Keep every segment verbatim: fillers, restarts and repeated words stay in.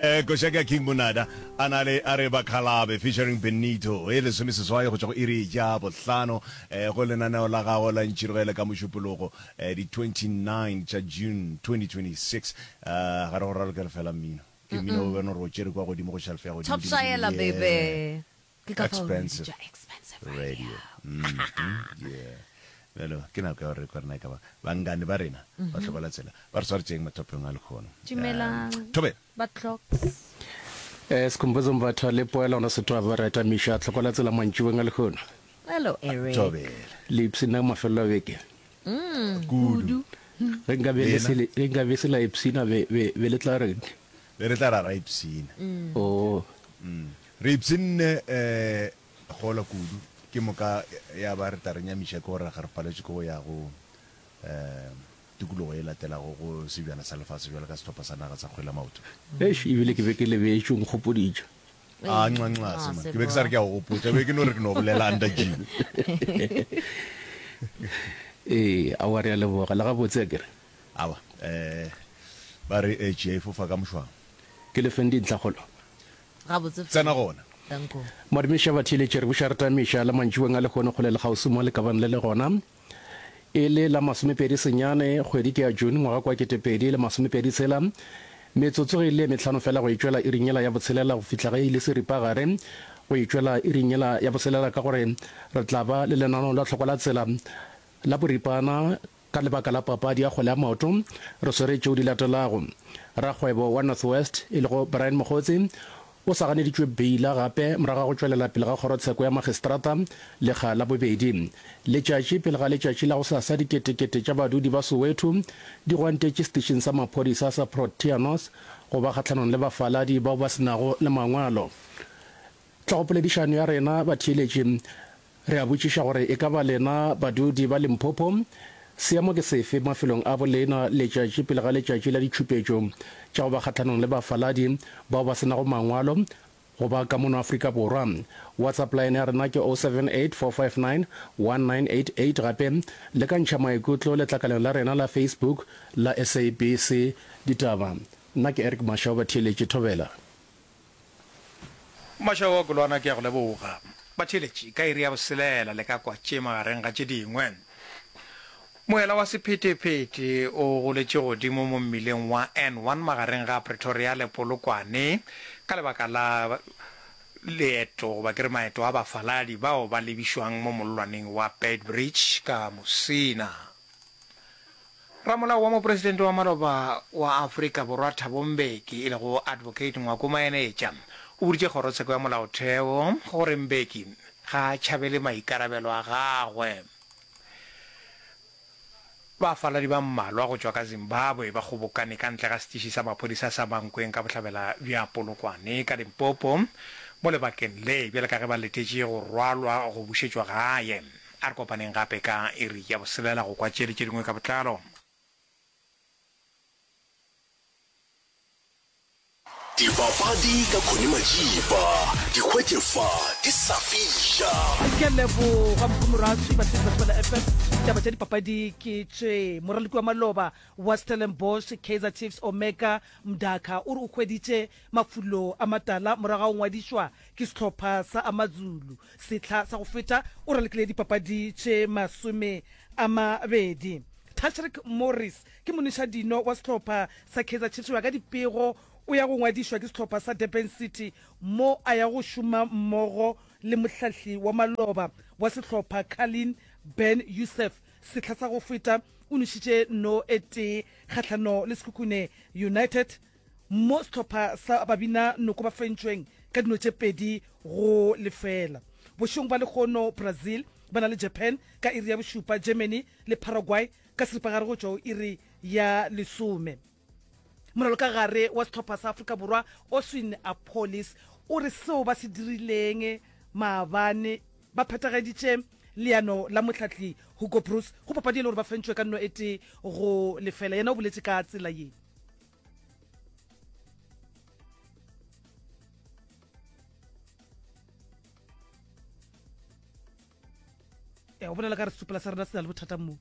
Eh, koša ka King Monada a na le a re Bakhalabe featuring Benito e lesome seswai go tšwa go iri ya bohlano eh, go lenaneo la gago la ntšhirogele ka mošupologo eh, di twenty-nine tša June twenty twenty-six. Eh, ga re go ralokele fela mmino ke mmino o bone gore o tšere kwa godimo go shelf ya godimo Top Shaela baby. Ke ka fao re Expensive bitša Expensive Radio. Radio. Mhm, yeah. Bjalo ke nako ya gore re kwe rena e ka ba bangane ba rena ba hlokola tsela ba re swaretšeng mathopeng a lekgono. Dumelang. Um, Thobela. Ba clocks. Eh, Sikhumbuzo Mbatha le Poela ona setwa ba reta Misha tlhokola tsela mantšiboeng a lekgono. Hello Eric. Thobela. Le ipshina mafelelo a beke. Mm, Kudu. kudu. Ge nka be le Lena? se le- ge nka be se la ipshina be be be le tla reng? Be re tla ra ra ipshina. Oh. Mm. Re ipshinne eh gola kudu ke moka ya ba re tla re nyamiša ke gore ga re paletše ke go ya go eh tikologo e latelago go sebjana sa lefase bjalo ka sehlopha sa naga sa kgwele ya maoto. Eish, ebile ke be ke lebetše o nkgopoditše. A nxa nxa Ah, se man. se Ke be ke sa re ke a go gopotša, be ke no re ke no bolela under G. Ee, aowa re a leboga. Le gabotse akere? Aowa, eh ba re eh tšie e fofa ka mošwang. Ke le feng dintlhakgolo? Gabotse Tsena fela. gona. Danko. Madumiša batheeletši, re buša re tamiša la mantšiboeng a lehono kgole le kgauswi mo le ka bang le le gona. E le la masomepedi senyane, kgwedi ke ya June ngwaga kwa ketepedi le masomepedi tshela. Metsotso ge e le ye mehlano fela go e tšwela iring yela ya botshelela go fihla ge e le seripagare go e tšwela iring yela ya botshelela ka gore re tla ba le lenaneo la tlhoko la tsela la boripana ka lebaka la papadi ya kgwele ya maoto. Re swere tšeo di latelago. Rakgwebo wa North West e lego Brian Mogotsi o sa ganeditšwe beila gape morago ga go tšwelela pele ga kgorotsheko ya magistrata lekga la bobedi. Letšatši pele ga letšatši la gosasa diketekete tša badudi ba Soweto di gwantetše setešeng sa maphodisa sa Proteanos go ba kgahlanong le bafaladi bao ba se nago le mangwalo. Tlhogopoledišano ya rena batheeletši re a botšiša gore e ka ba lena badudi ba Limpopo seemo ke sefe mafelong a bolena letšatši pele ga letšatši la ditšhupetšo tša go ba kgahlanong le bafaladi bao ba se nago mangwalo go ba ka mono Afrika Borwa. WhatsApp line ya rena ke oh seven eight four five nine one nine eight eight gape le ka ntšha maikutlo letlakaleng la rena la Facebook la S A B C Ditaba. Nna ke Eric Mashau batheeletši Thobela. Mashau wa Kolwana ke a go leboga. Batheeletši, ka iri ya boselela le ka kwa tše magareng ga tše dingwe. Moela wa sephethephethe o goletše godimo mo mmileng wa N one magareng ga Pretoria le Polokwane ka lebaka la leeto goba ke re maeto a bafaladi bao ba lebišwang mo mollwaneng wa Beitbridge ka Musina. Ramolao wa mopresidente wa maloba wa Afrika Borwa Thabo Mbeki e lego Advocate Ngwako Maenetša o boditše kgorotsheko ya molaotheo gore Mbeki ga a tšhabele maikarabelo a gagwe. Bafaladi ba mmalwa go tšwa ka Zimbabwe ba kgobokane ka ntle ga setiši sa maphodisa sa Mankweng ka bohlabela bja Polokwane ka Limpopo mo lebakeng le bjale ka ge ba letetše go rwalwa go bušetšwa gae. A re kopaneng gape ka iri ya boselela go kwa tše le tše dingwe ka botlalo. Dipapadi ka Connie Majiba, di hwetše fa di sa fiša. Ke a leboga Mkhumuraswi, batheetši ba Thobela F M. Ditaba tša dipapadi ke tše. Moraloki wa maloba wa Stellenbosch Kaizer Chiefs Omega Mdaka o re o hweditše mafulo a matala morago ga go ngwadišwa ke sehlopha sa AmaZulu. Sehla sa go feta o ralokile dipapadi tše masome a mabedi. Tashreeq Morris ke monišadino wa sehlopha sa Kaizer Chiefs go ya ka dipego o ya go ngwadišwa ke sehlopha sa Durban City mo a ya go šoma mmogo le mohlahli wa maloba wa sehlopha Carlin Ben Youssef. Sehla sa go feta o nošitše no e tee kgahlano le Sekhukhune United mo sehlopha sa babina noko ba fentšweng ka dino tše pedi go lefela. Bošegong ba lekgono Brazil ba na le Japan ka iri ya bošupa, Germany le Paraguay ka seripagare go tšwa go iri ya lesome. Moralokagare wa sehlopha sa Afrika Borwa Oswin Appollis o re seo ba se dirileng maabane ba phethagaditše leano la mohlahli Hugo Broos go papadi e le gore ba fentšwe ka nno e tee go lefela. Yena o boletše ka tsela ye. E, o bolela ka re setsopela sa rena se na le bothata mo.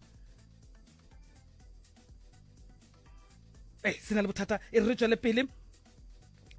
Eh, se na le bothata. E re re tšwele pele.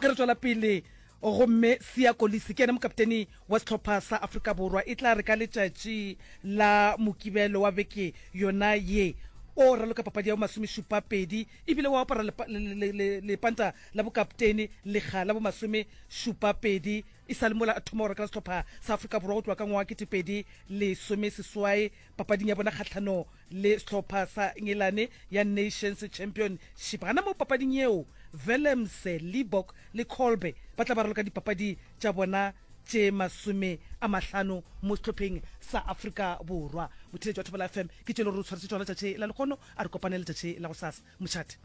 Ge re tšwela pele, gomme Siya Kolisi ke yena mokapteni wa sehlopha sa Afrika Borwa. E tla re ka letšatši la Mokibelo wa beke yona ye, o raloka papadi ya bomasomešupa pedi ebile o apara lepanta la bokapteni lekga la bomasomešupa pedi e sa le mola a thoma go rakela sehlopha sa Afrika Borwa go tloga ka ngwaga wa ketepedi lesomeseswai papading ya bona kgahlano le sehlopha sa Engelane ya Nations Championship. Gana moo papading yeo, Willemse, Libbok le Kolbe ba tla ba raloka dipapadi tša bona tše masome a mahlano mo sehlopheng sa Afrika Borwa. Motheeletši wa Thobela F M, ke tše le gore o tshwaretše tšona letšatši la lehono. A re kopane letšatši la gosasa. Mošate.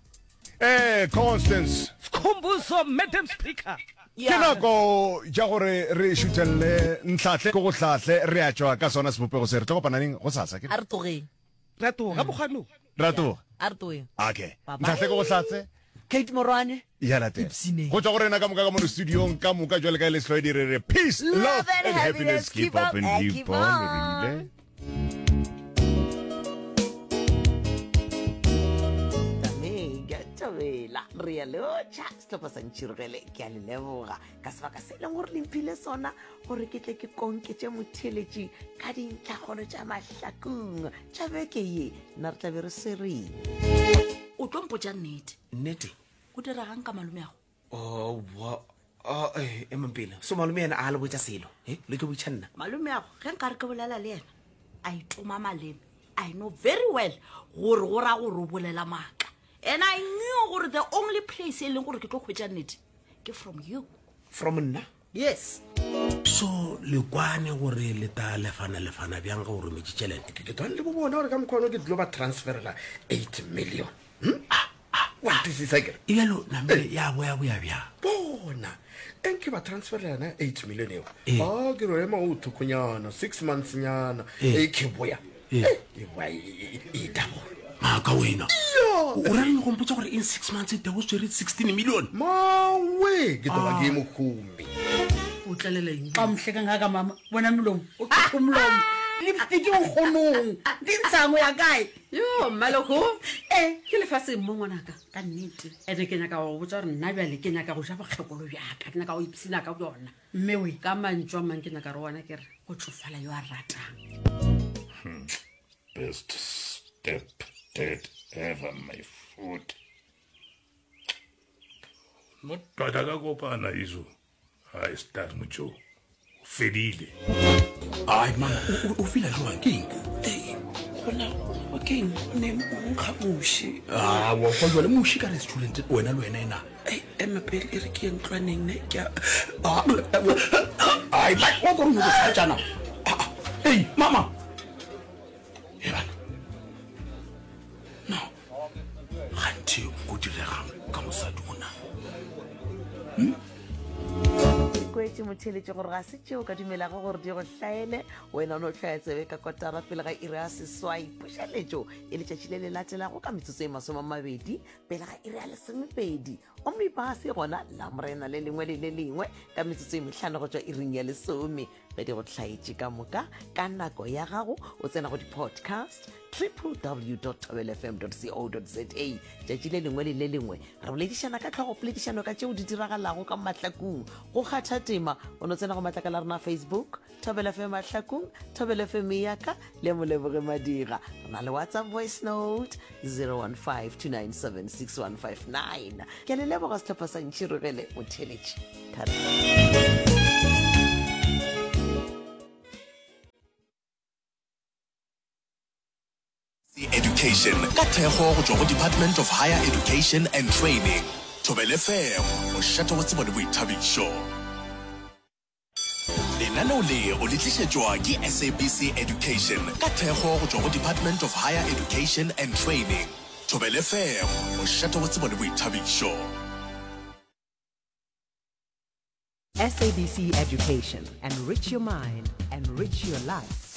Ee, Constance. Skhumbuzo, Madam Speaker. Ke nako ja gore re šuthelle ntlhahle ko go hlahle, re a tšwa ka sona sebopego se. Re tlo kopana neng? Gosasa, ke re? A re tlogeng. Re a tloga, mokgwa no. Re a tloga. A re tlogeng. Okay. Bye-bye. Ntlhahle ko go hlatse. Kate Morwane. Ya latela. Ipshineng. Go tšwa go rena ka moka ka mono studiong ka moka jwale ka e le Sehlwaedi re re peace, love and happiness. Keep up and keep on. Re ile. Tamega, thobela, re a lotšha sehlopha sa Ntšhirogele. Ke a le leboga ka sebaka se e leng gore le mphile sona gore ke tle ke konketše motheeletši ka dintlhakgolo tša mahlakong tša beke ye. Nna re tla be re swereng. O tlo mpotša nnete. Nnete? Go diregang ka malomeago? Oh, wa, oh, eh, emang pele. So malome yena a le botša selo, eh? Le tlo botša nna. Malomeago, ge nka re ke bolela le yena, a itoma maleme. I know very well gore go ra gore o bolela maaka. And I knew gore the only place e leng gore ke tlo hwetša nnete ke from you. From nna? Yes. So le kwane gore le ta lefana lefana bjang ge o rometše tšhelete? Ke tshwane le bo bona gore ka mokgwa ono ke tlo ba transferela eight million. Hm? Ah, ah, Wa nkwisisa ke re? E bjalo namele ya boya boya bjang? Bona, e nke ba transferela yona eight million eo. Eh. Ah, ke ro ema o thokonyana, six months nyana. Eh. E ke boya. Eh. Eh, e boya e, e, e, e double. Maaka wena. Ya. O ra reng go mpotša gore in six months e tebo swere sixteen million? Mawe, ke tlo ba Ah. ke mohumi. O tlalela eng? Ka mohle ka ngaka mama, bona molomo, o qopha molomo. Lipstick o kgonong. Di ntshang o ya kae? Yo, mmaloko. Eh. Ke lefaseng mo ngwanaka. Ka nnete. Ene ke nyaka go botša gore nna bjale ke nyaka go ja bokgekolo bjaka, ke nyaka go ipshina ka bjona. Mme we. Ka mantšu a mang ke nyaka re ona ke re go tsofala yo a ratang. Hmm. Best step dad ever, my foot. No tota ka kopana iso. Ai star mocho. O fedile. Ai mama, o, o, o fila jwang ke eng? Ei, gona o ke eng? Go ne nkga moši. Ah, wa kwa jwale moši ka restaurant wena le wena ena. Ei, ema pele e re ke ye ntlwaneng ne ke a Ah, ai, ba wa go go tjana. Ah, ah, ei, mama. E bana. No. Ganthe go diregang ka mosadi ona? Ke kwetše motheeletši gore ga se tšeo ka dumelago gore di go hlaele. Wena o no hlwaya tsebe ka kotara pele ga iri ya seswai. Pušeletšo e letšatši le le latelago ka metsotso e masome a mabedi pele ga iri ya lesomepedi. Omnibus e gona Lamorena le lengwe le le lengwe ka metsotso e mehlano go tšwa iring ya lesome. Ge di go hlaetše ka moka ka nako ya gago, o tsena go di-podcast triple w dot thobela f m dot co dot z a. Tšatši le lengwe le le lengwe re boledišana ka tlhogo poledišano ka tšeo di diragalago ka mahlakong. Go kgatha tema o no tsena go matlakala a rena Facebook, Thobela F M Mahlakong, Thobela F M ya ka le Moleboge Madira. Re na le WhatsApp voice note zero one five two nine seven six one five nine. Ke a le leboga sehlopha sa Ntšhirogele motheeletši. Thari. Education ka thekgo go tšwa go Department of Higher Education and Training. Thobela F M, mošate wa tsebo le boithabišo. Lenaneo le o le tlišetšwa ke S A B C Education ka thekgo go tšwa go Department of Higher Education and Training. Thobela F M, mošate wa tsebo le boithabišo. S A B C Education, enrich your mind, enrich your life.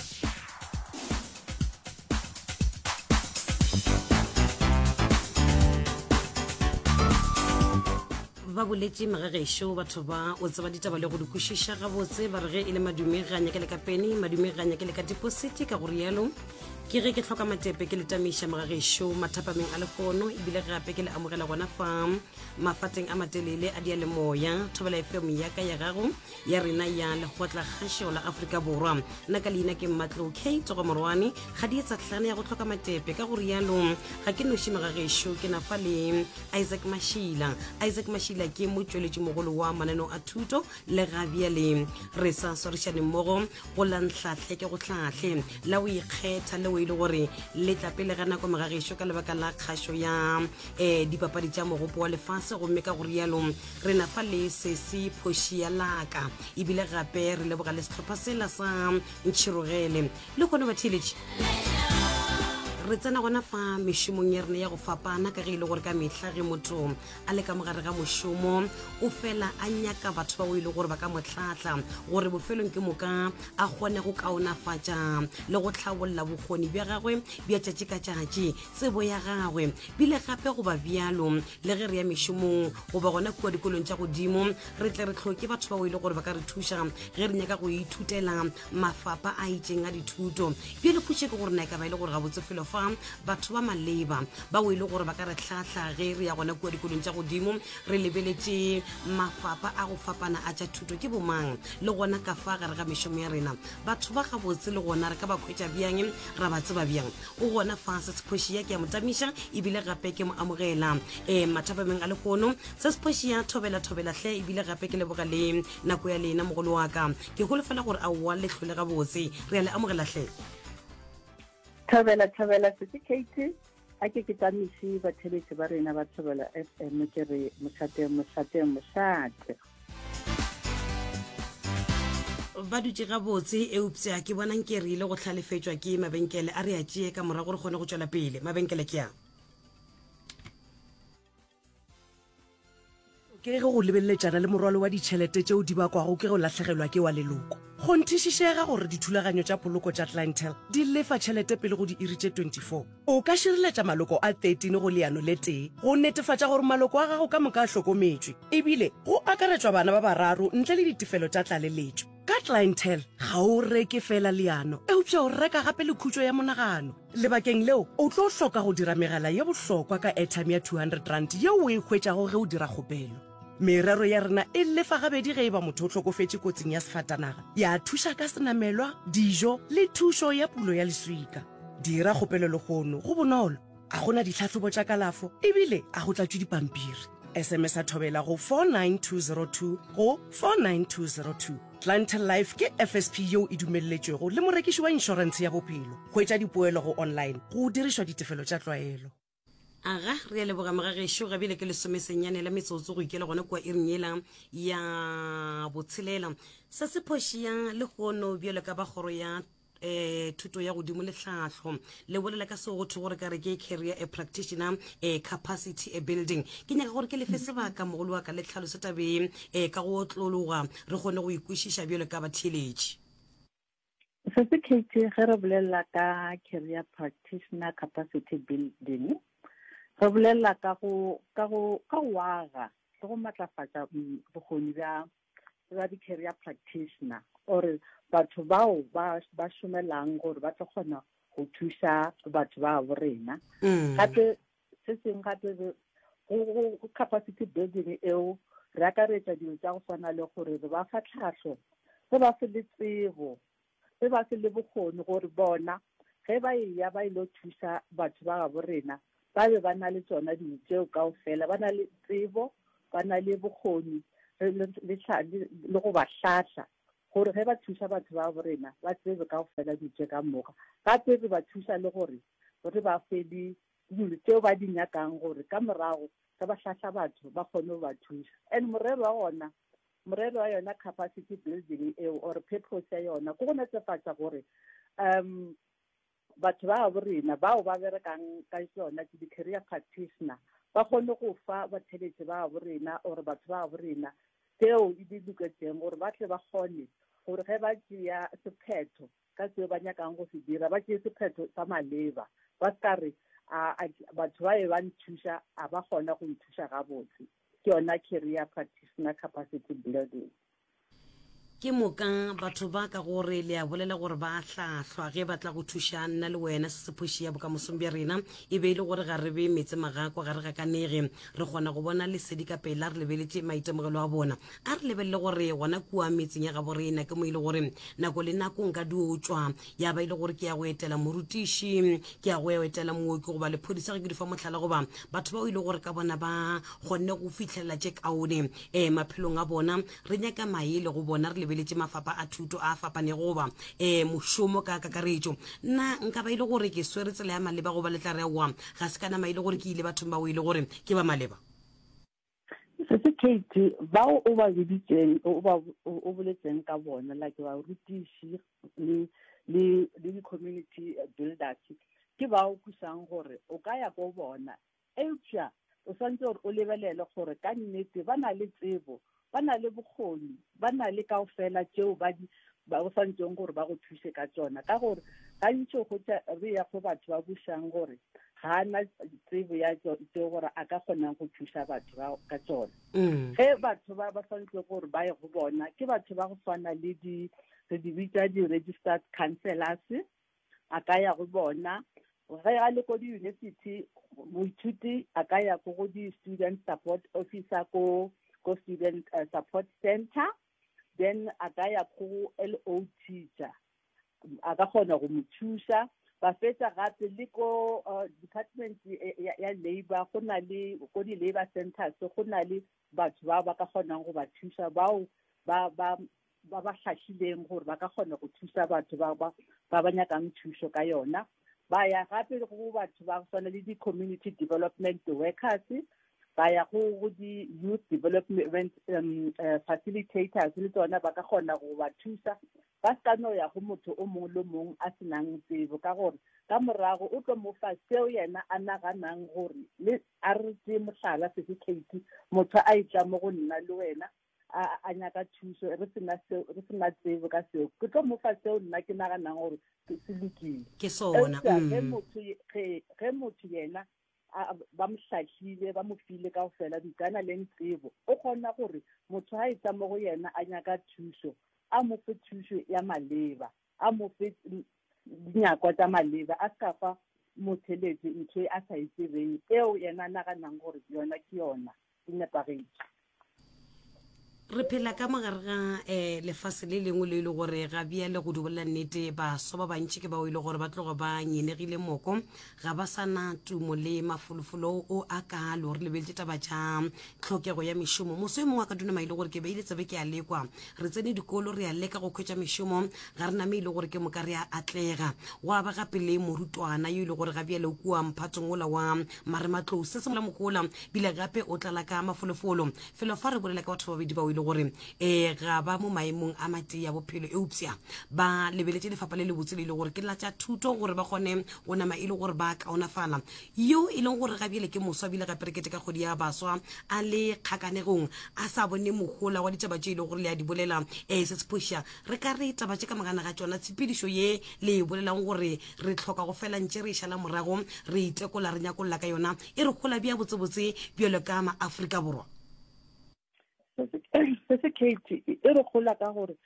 Ba boletše magagešo batho ba o tseba ditaba le go di kwešiša gabotse, ba re ge e le madume ga nyake le ka peni, madume ga nyake le ka deposit, ka go rialo Ke ge ke hloka matepe ke le tamiša mogagešo mathapameng a lehono ebile gape ke le amogela gona fa mafateng a matelele a diyalemoya Thobela F M ya ka ya gago ya rena ya Lekgotla Kgašo la Afrika Borwa. Nna ka leina ke Mmatlou K Tsogo Morwane ga di etsa hlana ya go hloka matepe ka go rialo ga ke noši mogagešo ke na fa le Isaac Mashila. Isaac Mashila ke motšweletši mogolo wa mananeo a thuto le ga bjale re sa swarišane mmogo go la Nhlahle ke go hlahle la go ikgetha leo e le gore le tla pele ga nako mogagešo ka lebaka la kgašo ya um dipapadi tša mogopo wa lefase gomme ka go rialo re na fa le sesi phoši ya laka ebile gape re leboga le sehlopha sela sa Ntšhirogele le kgone batheeletši. Re tsena gona fa mešomong ya rena ya go fapana ka ge e le gore ka mehla ge motho a le ka mogare ga mošomo o fela a nyaka batho bao e le gore ba ka mo hlahla gore bofelong ke moka a kgone go kaonafatša le go hlabolla bokgoni bja gagwe bja tšatši ka tšatši, tsebo ya gagwe bile gape goba bjalo le ge re ya mešomong goba gona kua dikolong tša godimo re tle re hloke batho bao e le gore ba ka re thuša ge re nyaka go ithutela mafapa a itšeng a dithuto. Bjale potšišo ke gore na e ka ba e le gore gabotse felo fa batho ba maleba bao e le gore ba ka re hlahla ge re ya gona kua dikolong tša godimo re lebeletše mafapa a go fapana a tša thuto ke bomang le gona ka fa gare ga mešomo ya rena batho ba gabotse le gona re ka ba khwetša bjang ra ba tseba bjang o gona fa se sephošia ke a mo tamiša ebile gape ke mo amogela um mathapameng a lehono se sephošia thobela thobela hle ebile gape ke leboga le nako ya lena mogolo wa ka ke holofela gore aowa le hlole gabotse re a le amogela hle. Thobela thobela sesi Kate a ke ke tamiše batheletši ba rena ba Thobela F M ke re mošate mošate mošate. Ba dutše gabotse eupša ke bona nke re ile go hlalefetšwa ke mabenkele a re a tšee ka morago re kgone go tšwela pele mabenkele ke a. Ke ge go lebeleletšana le morwalo wa ditšhelete tšeo di bakwago ke go lahlegelwa ke wa leloko. Kgonthišišega gore dithulaganyo tša poloko tša Clientele di lefa tšhelete pele go diiri tše twenty four. O ka šireletša maloko a thirteen go leano le tee go netefatša gore maloko a gago ka moka a hlokometšwe, ebile go akaretšwa bana ba bararo ntle le ditefelo tša tlaleletšo. Ka Clientele, ga o reke feela leano, eupša o reka gape le khutšo ya monagano. Lebakeng leo, o tlo hloka go dira megala ye bohlokwa ka airtime ya two hundred rand yeo o e hwetšago ge o dira kgopelo. Merero ya rena e lefa gabedi ge e ba motho o hlokofetše kotsing ya sefatanaga, ya thuša ka senamelwa, dijo le thušo ya pulo ya leswika. Dira kgopelo lehono, go bonolo, a go na ditlhahlobo tša kalafo ebile a go tlatšwe dipampiri. S M S a Thobela go four nine two zero two go four nine two zero two. Clientele Life ke F S P yeo e dumelletšwego le morekiši wa inšorentshe ya bophelo. Hwetša dipoelo go online go dirišwa ditefelo tša tlwaelo. Aga, re a leboga mogagešo, ga bjale ke lesomesenyane la metsotso go ikela gona kua iring yela ya botshelela. Se se phošia lehono bjalo ka ba kgoro ya eh thuto ya godimo le tlhahlo le bolela ka seo go thwe gore ka re ke career a practitioner a capacity a building. Ke nyaka gore ke lefe sebaka mogolo wa ka le tlhaloso tabeng eh ka go otlologa re kgone go ikwešiša bjalo ka batheeletši. Sesi Kate, ge re bolela ka career practitioner capacity building, re bolela ka go ka go ka go aga le go matlafatša mm, bokgoni bja bja di-career practitioner or batho bao ba ba šomelang gore ba tlo kgona go thuša batho ba bo rena. Mm. Gape se sengwe gape re- go go- go capacity building eo re akaretša dilo tša go swana le gore re ba fa tlhahlo, re ba fe le tsebo, re ba fe le bokgoni gore bona ge ba eya ba ile thuša batho ba gabo rena ba be ba na le tsona dilo tšeo kaofela, ba na le tsebo, ba na le bokgoni le le le go ba hlahla gore ge ba thuša batho ba bo rena ba tsebe kaofela dilo tše ka moka. Gape re ba thuša le gore re ba fe le dilo tšeo ba di nyakang gore ka morago ge ba hlahla batho ba kgone go ba thuša. And morero wa gona morero wa yona capacity building eo or purpose ya yona ke go netefatša gore um batho ba bo rena bao ba berekang ka tsona ke di-career practitioner ba kgone go fa batheletši ba bo rena or batho ba bo rena tseo e di loketseng gore ba tle ba kgone gore ge ba tšea sephetho ka seo ba nyakang go se dira ba tšee sephetho sa maleba, ba se ka re a batho ba be ba nthuša a ba kgona go nthuša gabotse. Ke yona career practitioner capacity building. Ke moka batho ba ka gore le a bolela gore ba a hlahlwa ge ba tla go thuša nna le wena. Se se phoši ya bokamosong bja rena e be e le gore ga re be meetse magako, ga re gakanege. Re kgona go bona lesedi ka pela re lebeletše maitemogelo a bona. A re lebelele gore gona kua metseng ya gabo rena ke mo e le gore nako le nako nka dio tšwa ya ba e le gore ke ya go etela morutiši, ke ya go etela mooki goba lephodisa ge ke di fa mohlala goba batho bao e le gore ka bona ba kgonne go fihlelela tše kaone um maphelong a bona. Re nyaka maele go bona re lebeletše mafapa a thuto a fapanego goba um mošomo ka kakaretšo. Na nka ba e le gore ke swere tsela ya maleba goba le tla re aowa ga se ka nama e le gore ke ile bathong bao e le gore ke ba maleba? Sesi Kate, bao o ba biditšeng, o ba o boletseng ka bona, like barutiši le le le di-community builders, ke bao kwešang gore o ka ya ko bona. Eupša o swanetše gore o lebelele gore ka nnete ba na le tsebo, ba na le bokgoni, ba na le kaofela tšeo ba di ba go swanetšeng gore ba go thuše ka tšona. Ka gore gantši o hwetša re ya go batho ba bušang gore ga a na tsebo ya tšeo gore a ka kgonang go thuša batho ba ka tšona. Ge batho ba ba swanetše gore ba ye go bona ke batho ba go swana le di re di bitša di-registered counsellors, a ka ya go bona. Ge a le ko di-university, moithuti a ka ya ko go di-student support officer ko ko student uh, support center, then a ka ya go L O teacher, a ka kgona go mo thuša. Ba fetša gape le ko uh, department ya, ya labor, go na le ko di-labor centers, go na le batho ba ba ka kgonang go ba thuša, bao ba ba ba ba hlahlileng gore ba ka kgona go thuša batho ba ba ba ba nyakang thušo ka yona. Ba ya gape go batho ba swana le di-community development workers, ba ya go go di-youth development um, uh, facilitators, le tsona ba ka kgona go ba thuša. Ba se ka no ya go motho o mongwe le mongwe a senang tsebo, ka gore ka morago o tlo mo fa seo yena a naganang gore le a re tšee mohlala Sesi Kate, motho a etla mo go nna le wena a, a nyaka thušo, re sena seo, re sena tsebo ka seo, ke tlo mo fa seo nna ke naganang gore se lokile. Ke sona, Eupša ge mm. motho ye-, ge, ge motho yena a, a, ba mo hlahlile, ba mo file kaofela dikana le tsebo, o kgona gore motho ha etla mo go yena a nyaka thušo, a mo fe thušo ya maleba, a mo fe dinyakwa tša maleba, a se ka fa motheletši ntho e a sa e tsebeng eo yena a naganang gore yona ke yona e nepagetše. Re phela ka mogare ga um lefase le lengwe le e le gore ga bjale go di bolela nnete baswa ba bantši ke bao e le gore ba tloga ba nyenegile moko, ga ba sa na tumo le mafolofolo o a kalo. Re lebeletše taba tša tlhokego ya mešomo. Moso e mongwe a ka dunama e le gore ke beile tsebe ke a lekwa, re tsene dikolo re a leka go hwetša mešomo, ga re name e le gore ke moka re a atlega. Gwa ba gape le morutwana yo e le gore ga bjale o kua mphatong ola wa marematlou, se se mola mokola bile gape o tlala ka mafolofolo. Felo fa re bolela ka batho ba babedi bao e le gore um ga ba mo maemong a matee a bophelo, eupša ba lebeletše lefapha le lebotse le e le gore ke la tša thuto gore ba kgone go nama e le gore ba kaonafala. Yo e leng gore ga bjale ke moswa bile gape re kete ka kgwedi ya baswa a le kgakanegong a sa bone mohola wa ditaba tše e leng gore le a di bolela um se se phoša. Re ka re taba tše ka mogana ga tšona tshepedišo ye le e bolelang gore re tlhoka go fela ntše re e šala morago, re itekola re nyakolla ka yona, e re hola bja botsebotse bjalo ka maAfrika Borwa? Se se Kate e re gola ka gore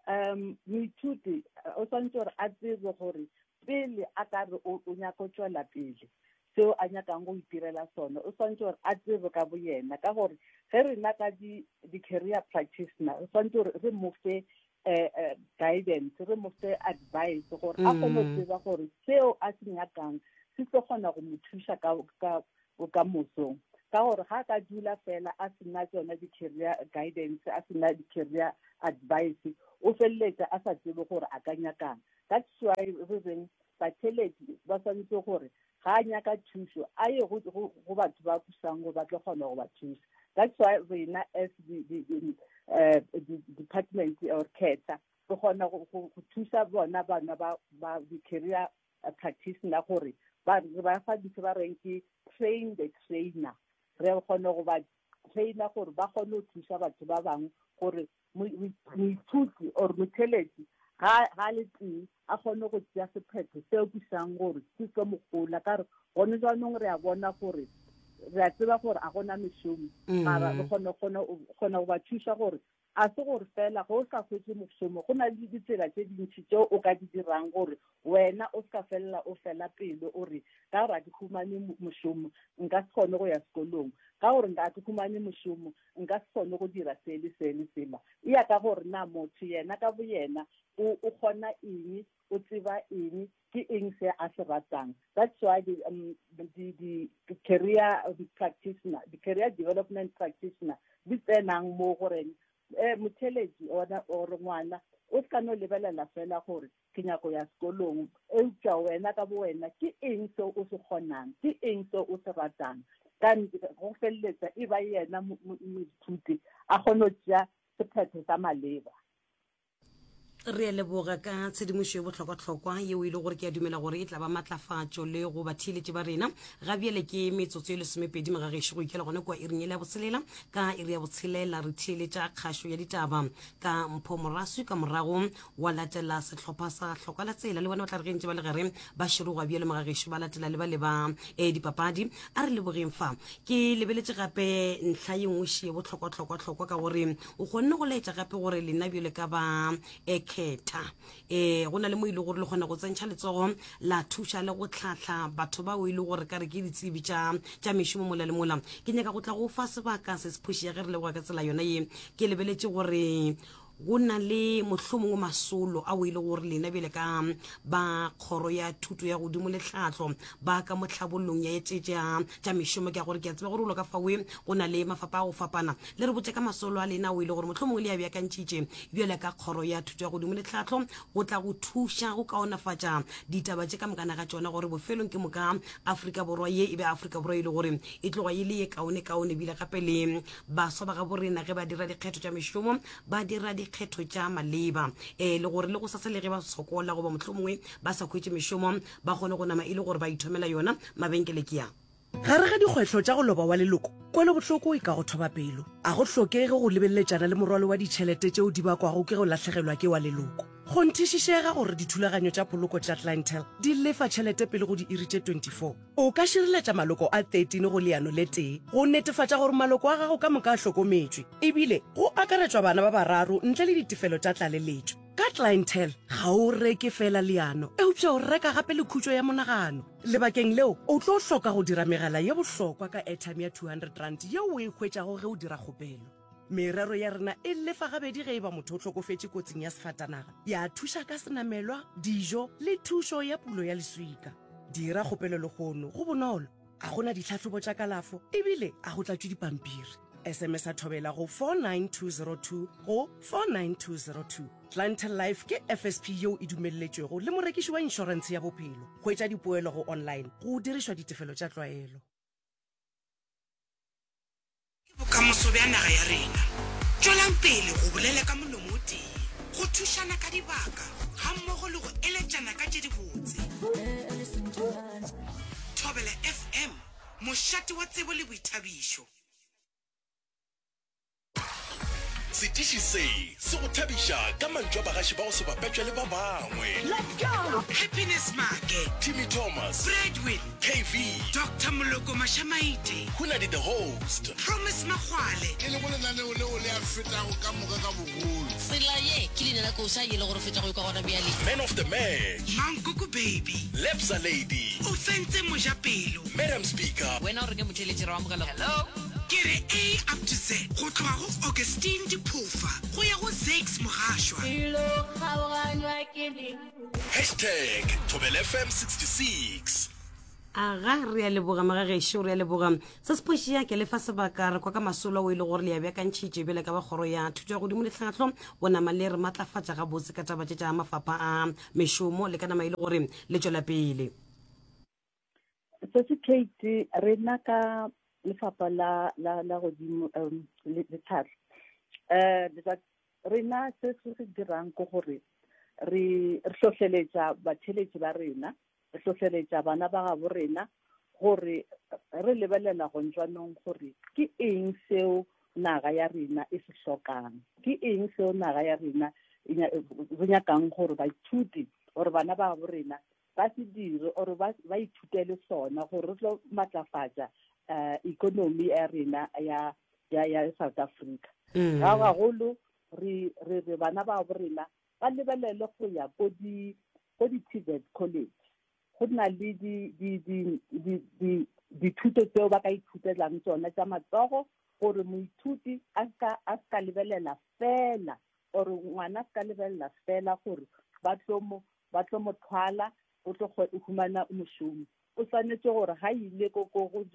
um moithuti o swanetše gore a tsebe gore pele a ka re o nyaka go tšwela pele seo a nyakang go itirela sona, o swanetše gore a tsebe ka boyena. Ka gore ge rena ka di, di-career practitioner re swanetše gore re mo fe eh, eh, guidance, re mo fe advice gore a kgone go tseba gore seo a se nyakang se tlo kgona go mo thuša ka, ka bokamosong. Ka gore ga ka dula fela a sena tsona di-career guidance, a sena di-career advice, o feleletša a sa tsebe gore a ka nyakang. That's why re reng batheletši ba swanetše gore ga a nyaka thušo a ye go, go, go batho ba thusang gore ba tlo kgona go ba thuša. That's why rena as the, the, the, uh, the department or KETA re kgona go, go, go thuša bona bana ba, ba di-career practitioner gore ba, re ba fa ntho ba reng ke train the trainer. Re kgone go ba trainer gore ba kgone go thuša batho ba bangwe gore moithuti or motheletši ga, ga le tee a kgone go tšea sephetho seo ke sang gore se tlo mo gola. Ka re gone jaanong re a bona gore Re a tseba gore a gona mešomo, mara re kgona kgona kgona go ba thuša gore a se gore fela ge o sa hwetše mošomo, go na le ditsela tše dintši tšeo o ka di dirang gore wena o se ka felela o fela pelo o re ka gore a ke humane mošomo nka se kgone go ya sekolong, ka gore nka ke humane mošomo nka se kgone go dira se le se le sela. E ya ka gore na motho yena ka boyena o o kgona eng, o tseba eng, ke eng se a se ratang. That's why di, um, di, di career practitioner, di career development practitioner di tsenang mo goreng eh motheletši ona or ngwana o se ka no lebelela fela gore ke nyako ya sekolong, eupša wena ka bo wena ke eng seo o se kgonang, ke eng seo o se ratang. Ka go feleletsa e ba yena moithuti a kgone go tšea sephetho sa maleba. Re a leboga ka tshedimošo ye bohlokwahlokwa yeo e le gore ke a dumela gore e tla ba matlafatšo le go batheeletši ba rena. Ga bjale ke metsotso e lesomepedi magagešo go ikela gona kua iring yela ya botshelela. Ka iri ya botshelela re theeletša kgašo ya ditaba ka Mpho Moraswi, ka morago wa latela sehlopha sa Hloka la Tsela. Le bona ba tla re ge ntše ba le gare ba širogwa bjalo magagešo ba latela le ba le ba e, dipapadi. A re lebogeng fa. Ke lebeletše gape ntlha ye nngwe še ye bohlokwahlokwahlokwa ka gore o kgonne go laetša gape gore lena bjale ka ba ekhetha e go na le mo ile gore le kgona go tsentšha letsogo la thuša le go tlhahla batho bao e le gore ka re ke ditsebi tša tša mešomo mola le mola. Ke nyaka go tla go fa sebaka se se phoši ya ge re leboga ka tsela yona ye. Ke lebeletše gore go na le mohlomongwe masolo ao e le gore lena bjale ka ba kgoro ya thuto ya godimo le tlhahlo ba ka mo tlhabollong ya tše tša tša mešomo, ke a gore ke a tseba gore o ka fawe go na le mafapa a go fapana. Le re botše ka masolo a lena ao e le gore mohlomongwe le a beakantšhitše bjale ka kgoro ya thuto ya godimo le tlhahlo go tla go thuša go kaonafatša ditaba tše ka mokana ga tšona gore bofelong ke moka Afrika Borwa ye e be Afrika Borwa e le gore e tloga e le ye kaone-kaone ebile gape le baswa ba gabo rena ge ba dira dikgetho tša mešomo ba dira dikgetho tša maleba e le gore le go sasa le ge ba sokola goba mohlomongwe ba sa hwetše mešomo ba kgone go nama e le gore ba ithomela yona. Mabenkele ke a. Gare ga dikgwetlho tša go loba wa leloko, kwelobohloko e ka go thoba pelo. A go hlokege go lebeleletšana le morwalo wa ditšhelete tšeo di bakwago ke go lahlegelwa ke wa leloko. Kgonthišišega gore dithulaganyo tša poloko tša Clientele di lefa tšhelete pele go diiri tše twenty four. O ka šireletša maloko a thirteen go leano le tee go netefatša gore maloko a gago ka moka a hlokometšwe, ebile go akaretšwa bana ba bararo ntle le ditefelo tša tlaleletšo. Ka Clientele, ga o reke feela leano, eupša o reka gape le khutšo ya monagano. Lebakeng leo, o tlo hloka go dira megala ye bohlokwa ka airtime ya two hundred rand yeo o e hwetšago ge o dira kgopelo. Merero ya rena e lefa gabedi ge e ba motho o hlokofetše kotsing ya sefatanaga, ya thuša ka senamelwa, dijo le thušo ya pulo ya leswika. Dira kgopelo lehono, go bonolo, a go na ditlhahlobo tša kalafo ebile a go tlatšwe dipampiri. S M S a Thobela go four nine two zero two go four nine two zero two. Clientele Life ke F S P yeo e dumelletšwego le morekiši wa inšorentshe ya bophelo. Hwetša dipoelo go online go dirišwa ditefelo tša tlwaelo. Ke bokamoso bja naga ya rena. Tšwelang pele go bolela ka molomo o tee, go thušana ka dibaka gammogo le go eletšana ka tše dibotse. Thobela F M, mošate wa tsebo le boithabišo. Setiši se se go thabiša ka mantšu a bagaši ba go se bapetšwe le ba bangwe. Let's go! Happiness Maake, Timmy Thomas, Bradwin, K V, Doctor Moloko Mashamaite, Hunadi the Host, Promise Makgwale. E lego lenaneo leo le a fetago ka moka ka bogolo. Tsela ye ke leina la koša ye le go re fetša go ikwa gona bjale. Man of the Match, Mankoko Baby, Lebza Lady, Ofentse Mojapelo, Madam Speaker, Wena o reng motheeletši re o amogela? Hello. Ke re A up to Z go tloga go Augustine Diphofa go ya go Zakes Mogašwa. Hashtag Thobela F M sixty six Aga, re a leboga magagešo, re a leboga. Se se phoši ke le fa sebaka re kwa ka masolo ao e le gore le a beakantšhitše bjale ka ba kgoro ya thuto ya godimo le tlhahlo go nama le re matlafatša gabotse ka taba tše tša mafapha a mešomo le ka nama e le gore le tšwela pele. Se se Kate, rena ka lefapha la la la godimo um le le tlhahlo eh rena se se se dirang ke gore re re hlohleletša batheletši ba rena, re hlohleletša bana ba gabo rena gore re lebelela gontšwanong gore ke eng seo naga ya rena e se hlokang, ke eng seo naga ya rena re nyakang gore baithuti gore bana ba gabo rena ba se dire or ba ba ithutele sona gore re tlo matlafatša uh, economy ya rena ya ya ya South Africa. Mm. Ga gagolo re re re bana ba bo rena ba lebelele go ya ko di ko di TVET college. Go na le di di di di di dithuto tseo ba ka ithutelang tsona tša matsogo gore moithuti a ska a ska lebelela fela or ngwana a ska lebelela fela gore ba tlo mo ba tlo mo thwala o tlo go humana mošomo. O swanetše gore ga ile ko ko go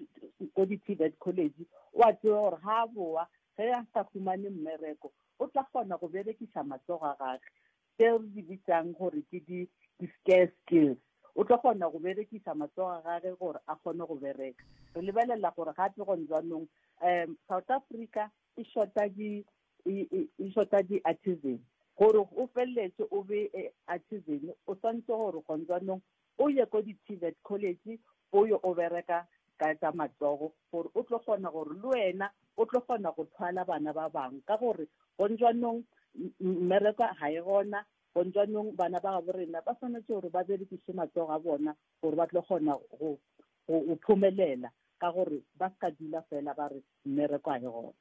ko di-TVET college o a tseba gore ga a boa ge a sa humane mmereko o tla kgona go berekiša matsogo a gagwe tseo re di bitsang gore ke di di-scarce skills. O tlo kgona go berekiša matsogo a gagwe gore a kgone go bereka. Re lebelela gore gape gone jaanong um South Africa e shota di e e e shota di-artisan. Gore o felletse o be artisan o swanetše gore gone jaanong o ye ko di-TVET college o yo o bereka ka tša matsogo gore o tlo kgona gore le wena o tlo kgona go thwala bana ba bangwe ka gore gone jaanong mmereko ga e gona. Gone jaanong bana ba gabo rena ba swanetše gore ba berekiše matsogo a bona gore ba tlo kgona go go phomelela ka gore ba ska dula fela ba re mmereko ga e gona.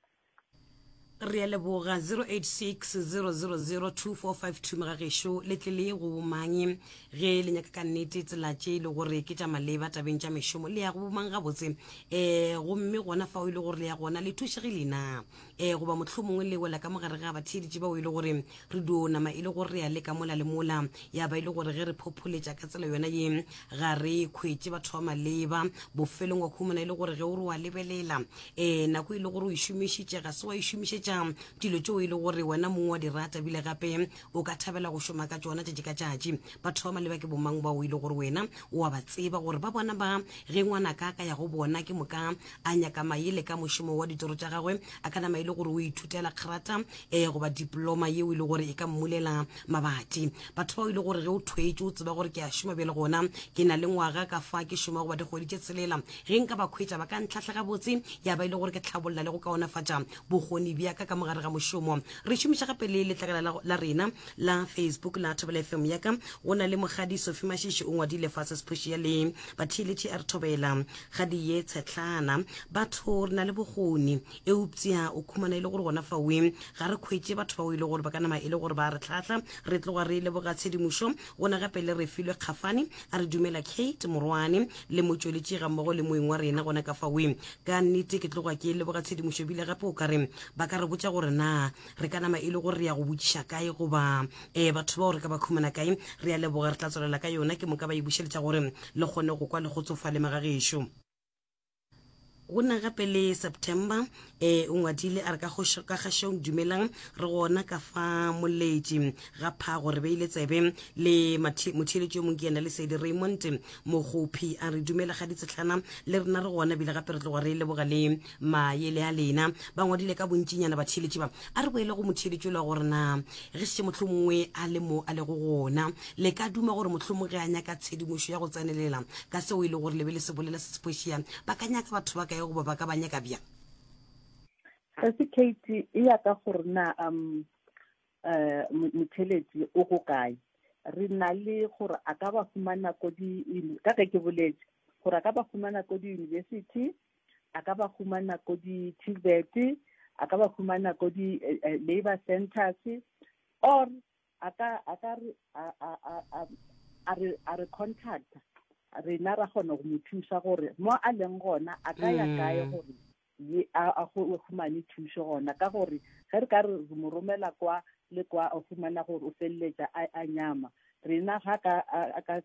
Re a leboga. Zero eight six zero zero zero two four five two Mogagešo le tle le go bomang ge le nyaka ka nnete tsela tše e le gore ke tša maleba tabeng tša mešomo le ya go bomang gabotse um gomme gona fao e le gore le ya gona le thušegile na um goba mohlomongwe le wela ka mogare ga batheeletši bao e le gore re dio nama e le gore re ya leka mola le mola ya ba e le gore ge re phopholetša ka tsela yona ye ga re khwetše batho ba maleba bofelong wa khumana e le gore ge o re wa lebelela um nako e le gore o e šomišitše ga se wa e šomišetša dilo tšeo e le gore wena mongwe wa di rata bile gape o ka thabela go šoma ka tšona tšatši ka tšatši. Batho ba maleba ke bomang bao e le gore wena o a ba tseba gore ba bona ba ge ngwanaka a ka ya go bona ke moka a nyaka maele ka mošomo wa ditoro tša gagwe a ka nama e le gore o ithutela kgrata um goba diploma yeo e le gore e ka mmulela mabati. Batho bao e le gore ge o thwetše o tseba gore ke a šoma bjale gona ke na le ngwaga ka fa ke šoma goba dikgwedi tše tshelela ge nka ba khwetša ba ka ntlhahla gabotse ya ba e le gore ke tlhabolla le go kaonafatša bokgoni bja ka ka mogare ga mošomo. Re šomiša gape le letlakala la, la rena la Facebook la Thobela F M ya ka. Go na le Mokgadi Sophie Mashishi o ngwadile fa se sephoši ya le batheeletši a re thobela gadi ye tshetlana. Batho re na le bokgoni eupša o khumana e le gore gona fawe ga re khwetše batho bao e le gore ba ka nama e le gore ba re tlhahla. Re tloga re leboga tshedimošo. Gona gape le re filwe Kgafane a re dumela Kate Morwane le motšweletši ga mmogo le moeng wa rena gona ka fawe. Ka nnete ke tloga ke leboga tshedimošo bile gape o ka re ba ka re botša gore na re ka nama e le gore re ya go botšiša kae goba um batho bao re ka ba khumana kae. Re a leboga, re tla tswelela ka yona ke moka ba e bušeletša gore le kgone go kwa le kgotsofale magagešo. Go na gape le September eh o ngwadile a re ka kgošo ka kgašong dumelang re gona ka fa moletši ga phago re beile tsebe le motheeletši yo mongwe ke yena Lesedi Raymond Mokgophi a re dumela ga ditsetlhana le rena re gona bile gape re tloga re leboga le maele a lena. Ba ngwadile ka bontšinyana batheeletši ba. A re boele go motheeletši ola gore na ge šetše mohlomongwe a le mo a lego gona le ka duma gore mohlomongwe ge a nyaka tshedimošo ya go tsenelela ka seo e le gore le be le se bolela se sephošia ba ka nyaka batho ba kae goba ba ka ba nyaka bjang? Sesi Kate e ya ka gore na um eh motheeletši o go kae. Re na le gore a ka ba fumana ko di ka ge ke boletše gore a ka ba fumana ko di-university, a ka ba fumana ko di-T V E T, a ka ba fumana ko di labor centers, or a ka a ka re a a a a re a re contact rena ra kgona go mo thuša gore mo a leng gona a ka ya kae gore ye a a go humane thušo gona ka gore ge re ka re mo romela kwa le kwa o fumana gore o feleletša a a nyama. Rena ga ka a ka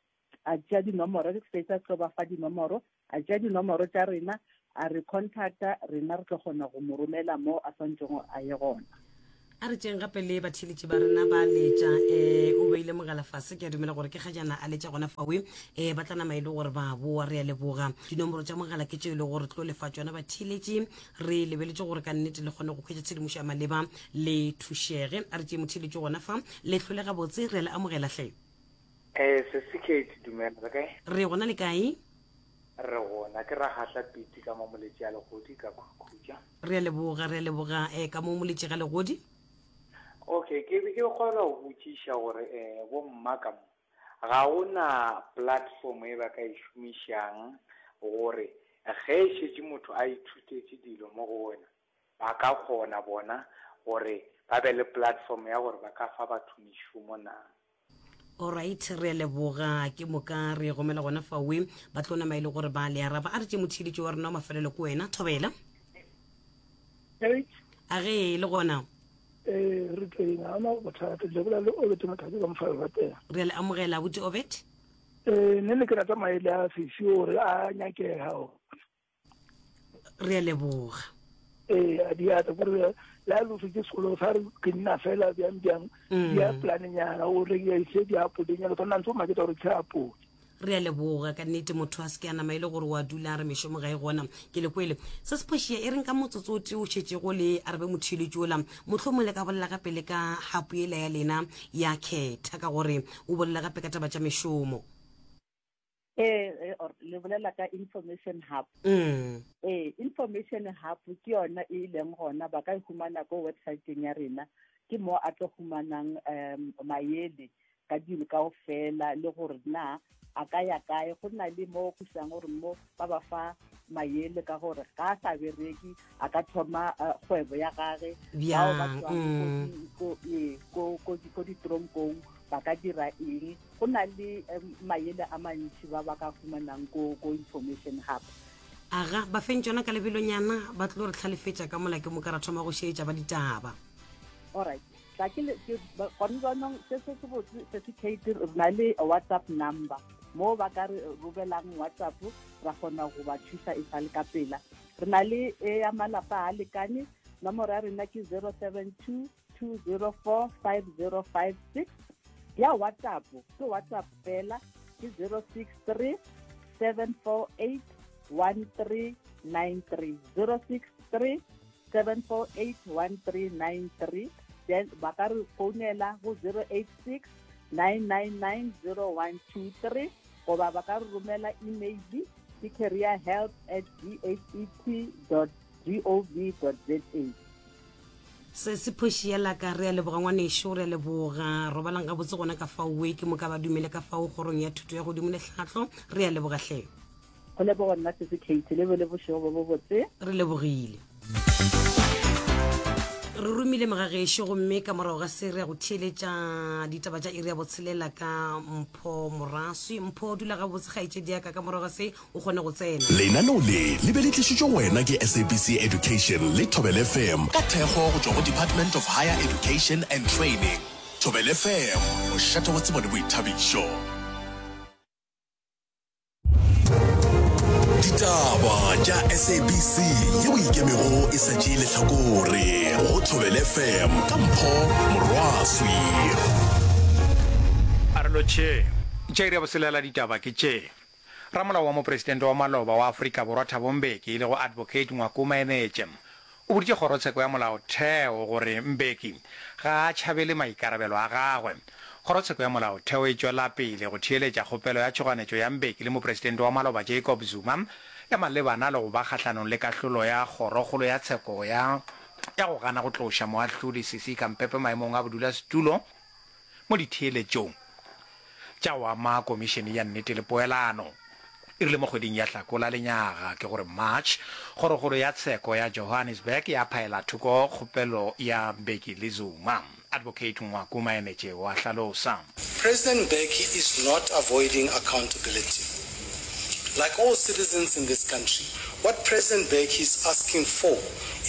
a tšea dinomoro re fetsa tlo ba fa dinomoro a tšea dinomoro tša rena a re contacta rena re tlo kgona go mo romela mo a swanetšego a ye gona. A re tšeng gape le batheeletši ba rena ba letša um o beile mogala fase ke a dumela gore ke kgajana a letša gona fawe um ba tla nama e le gore ba boa. Re a leboga. Dinomoro tša mogala ke tšeo e le gore tlo lefa tšona batheeletši. Re lebeletše gore ka nnete le kgone go hwetša tshedimošo ya maleba le thušege. A re tšee motheeletši gona fa le hlole gabotse re a le amogela hle. Eh sesi Kate dumela re kae? Re gona le kae? Re gona ke Ragahla Piti ka mo Moletši a Legodi ka Khutša. Re a leboga, re a leboga eh ka mo Moletši ga Legodi. Okay, ke be ke kgona go botšiša gore eh bo mma ka mo ga gona platform e ba ka e šomišang gore Ge e šetše motho a ithutetše dilo mo go wena, ba ka kgona bona gore ba be le platform ya gore ba ka fa batho mešomo na? Alright, re a leboga. Ke moka re gomela gona fawe ba tlo nama e le gore ba le araba. A re tše motheeletši wa rena wa mafelelo ke wena, Thobela. A ge le gona? Ee, re teng, ga ona bothata. Le bolela le Obet Mothabi ka Mofala Ratela. Re a le amogela, abuti Obet. Ee, nne ne ke rata maele a sesi gore a nyakega. Re a leboga. Ee, a diatla kore le a loso ke sekolo sa re ke nna fela bjang bjang Mm. di a planenyana o rekise diapolenyana tshwanela ntse o maketsa gore ke apole. Re a leboga ka nnete. Motho a se ke a nama e le gore wa dula a re mešomo ga e gona. Ke le kwele se se phošia e reng ka motsotso o tee o šetšego le arabe motheeletši ola, mohlomong le ka bolela gape le ka hapo yela ya lena ya khetha, ka gore o bolela gape ka taba tša mešomo. Ee, eh, or le bolela ka information hub. Mm. Ee, information hub ke yona e leng gona ba ka e humana ko websiteng ya rena, ke mo a tlo humanang um maele ka dilo kaofela le gore na a ka ya kae. Go na le mo go isang gore mo ba ba fa maele ka gore ga a sa bereke a ka thoma eh, kgwebo ya gage. Bao ba Bjang? tswang ko Mm. di- ko- ee, ko- ko di- ko ditoronkong ba ka dira eng. Go na le em, maele a mantši ba ba ka humanang ko ko information hub. Aga ba feng tšona ka lebelonyana, ba tlo re tlhalefetša ka mola ke moka ra thoma go šeetša ba ditaba. Alright, tla ke le- ke- ba- gone jaanong se se se botse certificate, re na le WhatsApp number mo ba ka re romelang WhatsApp, ra kgona go ba thusa e sa le ka pela. Re na le e ya malapa a lekane, nomoro ya rena ke zero seven two two zero four five zero five six. Ya WhatsApp ke WhatsApp fela, ke zero six three seven four eight one three nine three, zero six three seven four eight one three nine three. Then ba ka re founela go zero eight six nine nine nine zero one two three, goba ba ka re romela email ke career help at d h e t dot g o v dot z a. Se se phoši ya laka. Re a leboga ngwanešo, re a leboga. Robalang gabotse gona ka faowe. Ke moka ba dumele ka fao kgorong ya thuto ya godimo le tlhahlo. Re a leboga hle. Go leboga nna sese Kate, le be le bošego bo bo botse. Re lebogile. Re romile mogagešo, gomme ka morago ga se re ya go theeletša ditaba tša iri ya botshelela ka Mpho Moraswi. Mpho, dula gabotse kgaetšedi ya ka, ka morago ga se o kgone go tsena. Lenaneo le le be le tlišitšwe go wena ke S A B C Education le Thobela F M ka thekgo go tšwa go Department of Higher Education and Training. Thobela F M, mošate wa tsebo le boithabišo. Ditaba tša S A B C yeo ikemego e sa tšee lehlakore go Thobela F M ka Mpho Morwaswi. A re lotšheng. Tša iri ya boselela ditaba ke tše. Ramolao wa mopresidente wa maloba wa Afrika Borwa Thabo Mbeki e lego Advocate Ngwako Maenetše o boditše kgorotsheko ya molaotheo gore Mbeki ga a tšhabele maikarabelo a gagwe. Kgorotsheko ya molaotheo e tšwela pele go theeletša kgopelo ya tšhoganetšo ya Mbeki le mopresidente wa maloba Jacob Zuma ya malebana le go ba kgahlanong le kahlolo ya kgorokgolo ya tsheko ya ya go gana go tloša moahlodi Sisi Khampepe maemong a bodulasetulo mo ditheeletšong tša go ama Komišene ya Nnete le Poelano. E rile mo kgweding ya Hlakola lenyaga, ke gore March, Kgorokgolo ya Tsheko ya Johannesburg ya phaela thoko kgopelo ya Mbeki le Zuma. Advocate Ngwako Maenetše o a hlalosa. President Mbeki is not avoiding accountability. Like all citizens in this country, what President Mbeki is asking for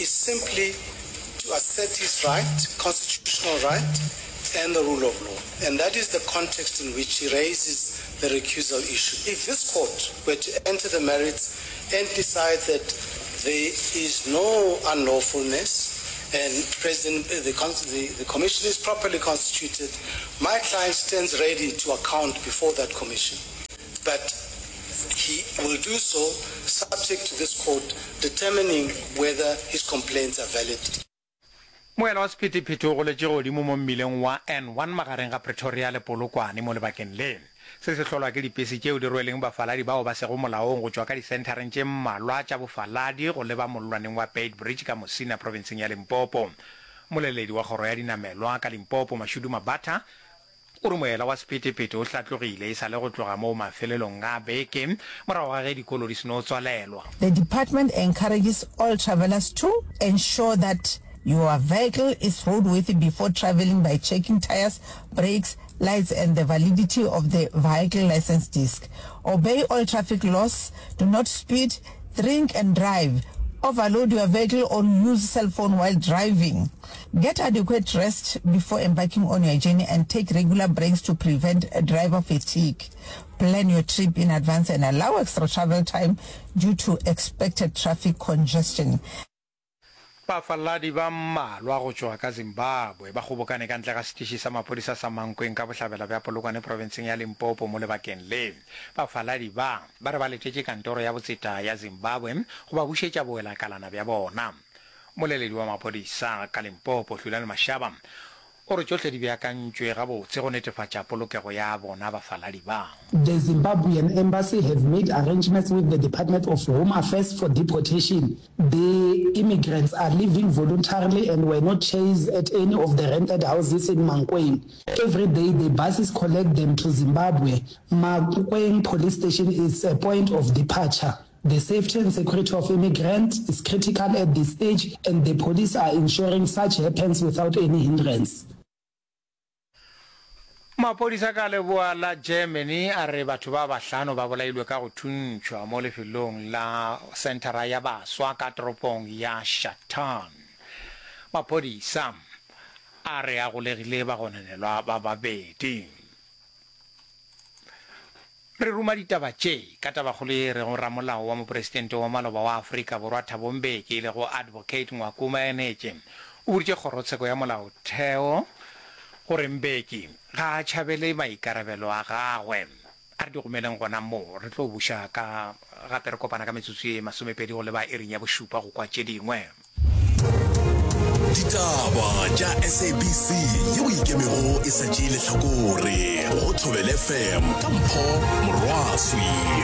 is simply to assert his right, constitutional right, and the rule of law. And that is the context in which he raises the recusal issue. If this court were to enter the merits and decide that there is no unlawfulness and President, the, the, the commission is properly constituted, my client stands ready to account before that commission. But he will do so subject to this court determining whether his complaints are valid. Moela wa sephethephethe o goletše godimo mo mmileng wa N one magareng ga Pretoria le Polokwane mo lebakeng le. Se se hlolwa ke dipese tšeo di rweleng bafaladi bao ba sego molaong go tšwa ka disenthareng tše mmalwa tša bofaladi go leba mollwaneng wa Beitbridge ka Musina profenseng ya Limpopo. Moleledi wa kgoro ya dinamelwa ka Limpopo, Mashudu Mabatha, O re moela wa sephethephethe o hlatlogile e sa le go tloga moo mafelelong a beke morago ga ge dikolo di seno tswalelwa. The department encourages all travellers to ensure that your vehicle is roadworthy before travelling by checking tyres, brakes, lights and the validity of the vehicle licence disc. Obey all traffic laws, do not speed, drink and drive, overload your vehicle or use cell phone while driving. Get adequate rest before embarking on your journey and take regular breaks to prevent driver fatigue. Plan your trip in advance and allow extra travel time due to expected traffic congestion. Bafaladi ba mmalwa go tšwa ka Zimbabwe ba kgobokane ka ntle ga setiši sa maphodisa sa Mankweng ka bohlabela bja Polokwane profenseng ya Limpopo mo lebakeng le. Bafaladi ba, ba re ba letetše kantoro ya botseta ya Zimbabwe go ba bušetša bowelakalana bja bona. Mmoleledi wa maphodisa ka Limpopo, Hlulani Mashaba, o re tšohle di beakantšwe gabotse go netefatša polokego ya bona bafaladi ba. The Zimbabwean embassy have made arrangements with the Department of Home Affairs for deportation. The immigrants are leaving voluntarily and were not chased at any of the rented houses in Mankweng. Every day the buses collect them to Zimbabwe. Mankweng police station is a point of departure. The safety and security of immigrants is critical at this stage and the police are ensuring such happens without any hindrance. Maphodisa ka leboa la Germany a re batho ba bahlano ba bolailwe ka go thuntšhwa mo lefelong la senthara ya baswa ka toropong ya Schattern. Maphodisa a re a golegile bagononelwa ba babedi. Re ruma ditaba tše ka tabakgolo ye e rego ramolao wa mopresidente wa maloba wa Afrika Borwa Thabo Mbeki e lego Advocate Ngwako Maenetše o boditše kgorotsheko ya molaotheo gore Mbeki ga a tšhabele maikarabelo a gagwe. A re di gomeleng gona mo, re tlo buša ka gape re kopana ka metsotso ye masomepedi go leba iring ya bošupa go kwa tše dingwe. Ditaba tša S A B C yeo e ikemego e sa tšee lehlakore go Thobela F M ka Mpho Morwaswi.